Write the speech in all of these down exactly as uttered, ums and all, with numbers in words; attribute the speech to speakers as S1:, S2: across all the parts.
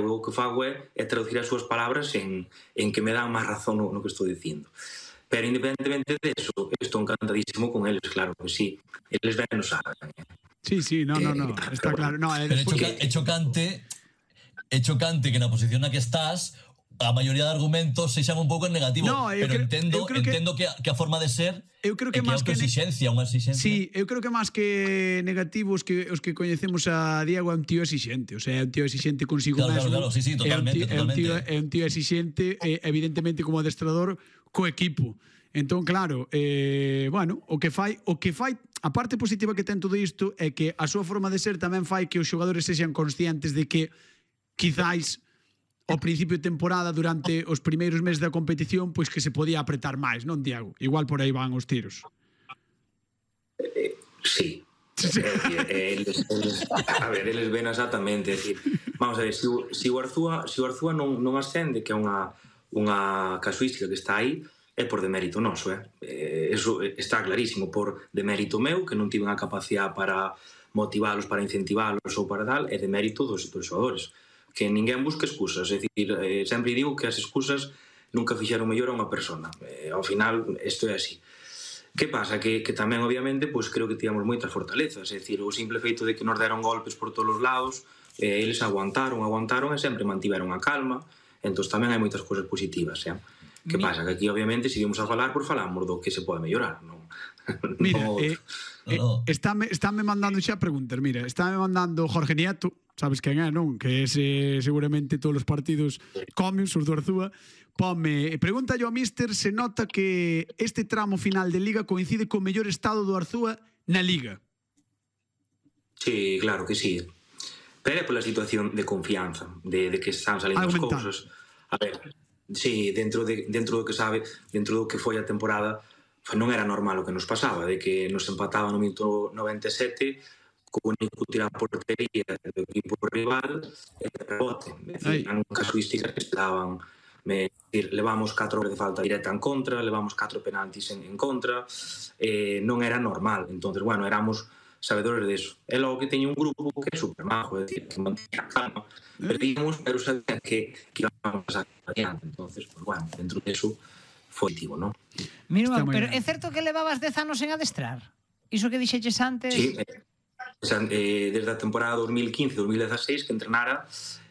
S1: o que fago é, é traducir as súas palabras en, en que me dan máis razón no, no que estou dicindo. Pero independentemente de eso, estou encantadísimo con eles, claro que sí. Eles ben nos saben.
S2: Sí, sí, no, no, no,
S1: Eh,
S2: está claro. No,
S3: Pero é, choca, é chocante é chocante que na posición na que estás a maioría de argumentos se xan un pouco en negativo,
S2: no,
S3: pero
S2: creo,
S3: entendo,
S2: que,
S3: entendo que, a, que a forma de ser
S2: eu creo que
S3: é que
S2: máis
S3: é autoexixencia, unha exixencia.
S2: Sí, eu creo que máis que negativos que os que coñecemos a Diego é un tío exixente, o sea, é un tío exixente consigo
S3: claro,
S2: mesmo.
S3: Claro, claro, sí, sí, totalmente,
S2: é un tío,
S3: totalmente.
S2: É un tío, é un tío exixente, eh, evidentemente como adestrador co equipo. Entón, claro, eh, bueno, o que fai, o que fai, a parte positiva que ten todo isto é que a súa forma de ser tamén fai que os xogadores sexan conscientes de que quizáis ao principio de temporada, durante os primeiros meses da competición, pois que se podía apretar máis, non, Diego? Igual por aí van os tiros.
S1: Eh, sí. Sí. É decir, eles, eles, a ver, eles ven exactamente, é decir, vamos a ver, se o, se o Arzúa, se o Arzúa non, non ascende, que é unha, unha casuística que está aí, é por demérito noso, eh? eh? Eso está clarísimo, por demérito meu, que non tiven a capacidade para motivalos, para incentivalos ou para tal, é demérito dos, dos xogadores. Que ninguén busca excusas, é dicir, eh, sempre digo que as excusas nunca fixeron mellor a unha persona, eh, ao final isto é así. Que pasa? Que, que tamén obviamente pois creo que tivemos moitas fortalezas, é dicir, o simple feito de que nos deron golpes por todos os lados, eh, eles aguantaron, aguantaron e sempre mantiveron a calma, entón tamén hai moitas cousas positivas, eh? Que pasa? Que aquí obviamente se vimos a falar, pois falamos do que se pode mellorar, non?
S2: Mira,
S1: no...
S2: eh, eh, estáme, estáme mandando xa preguntas, mira, estáme mandando Jorge Nieto, sabes quen é, non? Que ese seguramente todos os partidos comes, os do Arzúa. Pome, pregunta yo ao míster se nota que este tramo final de Liga coincide co mellor estado do Arzúa na Liga.
S1: Sí, claro que sí. Pero é pola situación de confianza, de, de que están salindo as cousas. A ver, sí, dentro, de, dentro do que sabe, dentro do que foi a temporada, non era normal o que nos pasaba, de que nos empataba no minuto noventa e sete co único tirar a portería do equipo rival e de rebote. É dicir, eran casuísticas que se daban. Me, decir, levamos catro horas de falta directa en contra, levamos catro penaltis en, en contra, eh, non era normal. Entonces, bueno, éramos sabedores deso. E logo que teña un grupo que é super majo, é dicir, que mantén a calma, perdíamos, pero sabían que, que íbamos a pasar adiante. Entonces, pues, bueno, dentro deso foi positivo, non?
S4: Mira, pero é certo que levabas dez anos en adestrar? Iso que dixeches antes?
S1: Sí, eh, eh, desde a temporada dos mil quince dos mil dieciséis que entrenara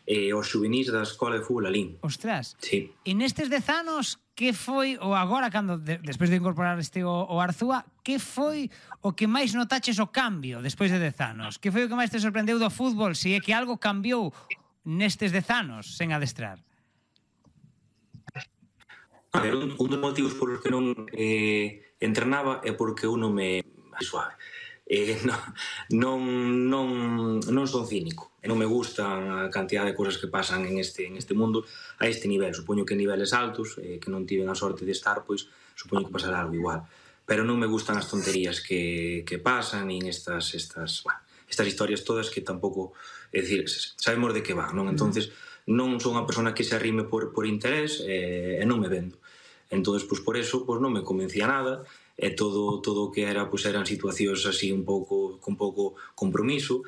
S1: eh, os xuvenís da Escola de Fútbol Alín.
S4: Ostras.
S1: Sí.
S4: E nestes dez anos, que foi, ou agora, cando de, despois de incorporar este o, o Arzúa, que foi o que máis notaches o cambio despois de dez anos? Que foi o que máis te sorprendeu do fútbol? Se é que algo cambiou nestes dez anos sen adestrar?
S1: A ver, un, un dos motivos por os que non eh, entrenaba é porque uno me suave. Eh, non, non, non son cínico e non me gusta a cantidad de cousas que pasan en este, en este mundo a este nivel, supoño que niveles altos eh, que non tiven a sorte de estar, pois supoño que pasará algo igual, pero non me gustan as tonterías que, que pasan nin estas, estas, bueno, estas historias todas que tampouco, é dicir, sabemos de que van, non? Entonces non son unha persona que se arrime por, por interés eh, e non me vendo, entonces pois por eso pois non me convencía nada e todo todo o que era pois eran situacións así un pouco con pouco compromiso.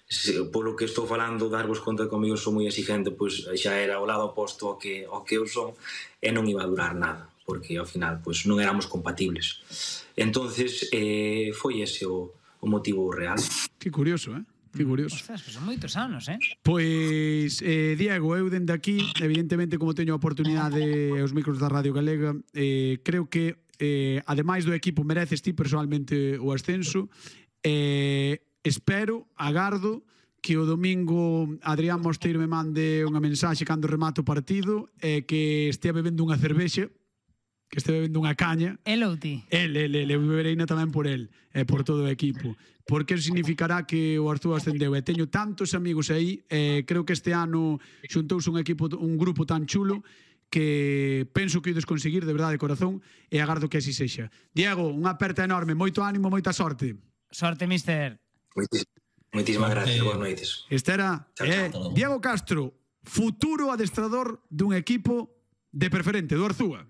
S1: Se, polo que estou falando, darvos conta que comigo son moi exigente, pois xa era o lado oposto ao que ao que eu son e non iba a durar nada, porque ao final pois non éramos compatibles. Entonces eh, foi ese o, o motivo real.
S2: Que curioso, eh? Que curioso.
S4: Ostras, pues son moitos anos, eh?
S2: Pois, eh, Diego, eu dende aquí, evidentemente, como teño a oportunidade os micros da Radio Galega, eh, creo que eh, ademais do equipo mereces ti personalmente o ascenso, eh, espero, agardo que o domingo Adrián Mosteiro me mande unha mensaxe cando remate o partido e que estea bebendo unha cervexa, que estea bebendo unha caña.
S4: El ou ti?
S2: El, el, el, eu bebereina tamén por el e por todo o equipo, porque eso significará que o Arzúa ascendeu e teño tantos amigos aí, e creo que este ano xuntouse un equipo, un grupo tan chulo que penso que ides conseguir de verdade de corazón e agardo que así sexa. Diego, unha aperta enorme, moito ánimo, moita sorte.
S4: Sorte, mister.
S1: Moitísimas gracias, boas noites.
S2: Este era eh, Diego Castro, futuro adestrador dun equipo de Preferente, do Arzúa.